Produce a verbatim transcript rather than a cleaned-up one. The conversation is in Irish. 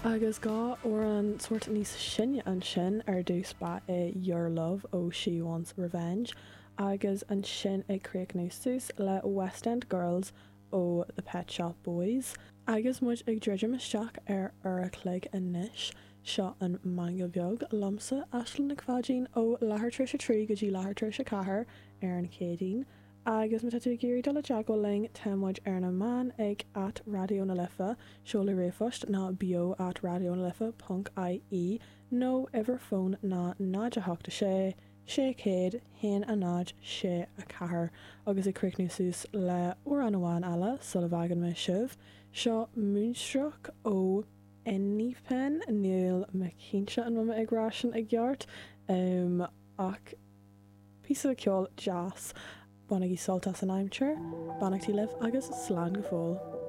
Agus dhá amhrán sórt níos sine ansin ar dtús ba é Your Love ó She Wants Revenge agus ansin ag críochnú suas le West End Girls ó The Pet Shop Boys. Agus muid ag druidim isteach ar uair a chloig anois seo an Meangadh Beag liomsa Aisling Nic Pháidín ó leathuair tar éis a trí go dtí leathuair tar éis a ceathair ar an Chéadaoin. Agus má tá tú ag iarraidh dul i dteagmháil linn tá muid ar na meáin ag at Raidió na Life, seoladh ríomhphost ná beo at Raidió na Life ponc IE nó uimhir fóin ná náid a hocht a sé, sé chéad, haon a náid, sé a ceathair agus ag críochnú suas le amhrán amháin eile sula bhfágann mé sibh, seo Moonstruck ó ENHYPEN níl mé cinnte an bhfuil mé ag rá sin i gceart um, ach píosa ceol deas. Bainigí sult as an aimsir, beannachtaí libh agus slán go fóill.